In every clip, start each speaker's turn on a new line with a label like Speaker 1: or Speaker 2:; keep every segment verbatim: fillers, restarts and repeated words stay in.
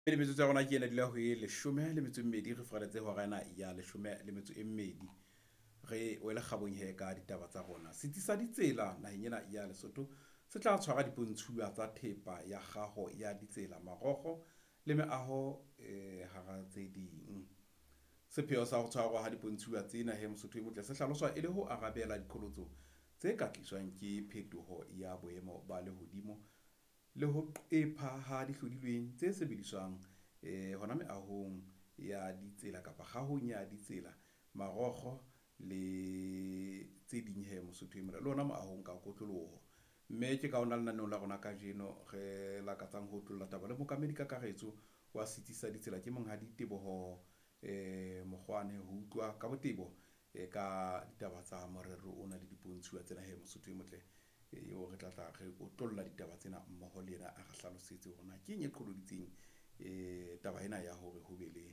Speaker 1: Le metsotso ya rona ke ena dula ho e leshome le metso e mmedi, re furaletse hora ena ya leshome le metso e mmedi. Re wele kgabong hee ka ditaba tsa rona. Setsi sa ditsela naheng ena ya Lesotho se tla tshwara dipontshuwa tsa thepa ya kgaho ya ditsela, marokgo le meaho e hara tse ding. Sepheo sa ho tshwarwa ha dipontshuwa tsena he Mosotho e motle se hlaloswa e le ho arabela diqholotso tse ka tliswang ke phetoho ya boemo ba lehodimo le ho qepha ha dihlodilweng tse sebediswang eh hona meahong ya ditsela kapa kgahong ya ditsela, marokgo le tse ding he Mosotho e mona le ona moahong ka kotloloho. Mme ke ka ona lenaneong la rona kajeno re lakatsang ho otlolla taba le mookamedi kakaretso wa setsi sa ditsela ke Monghadi Teboho eh Mokgoane ho utlwa ka botebo eh ka ditaba tsa morero ona le dipontshuwa tsena he Mosotho e motle, eo re tla tla re otlolla ditaba tsena mmoho le yena a re hlalosetse hore na keng e qholoditseng eh taba ena ya hore ho be le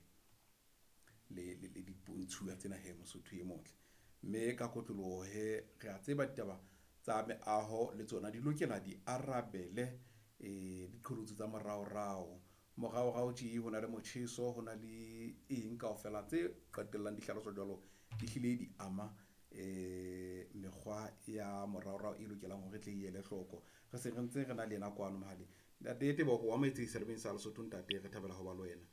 Speaker 1: le le le dipontshuwa tsena he Mosotho e motle. Mme ka kotloloho he re a tseba ditaba tsa meaho le tsona di lokela di arabele eh diqholotso tsa moraorao. Moraorao tje ho na le motjheso, ho na le eng kaofela tse qetellang di hlaloswa jwalo, di hlile di ama eh mekgwa ya moraorao e lokelang hore e tle e ele hloko. Re se re ntse re na le yena kwano mohaleng. Ntate Teboho o amohetse seyalemoyeng sa Lesotho ntate, re thabela ho ba le wena.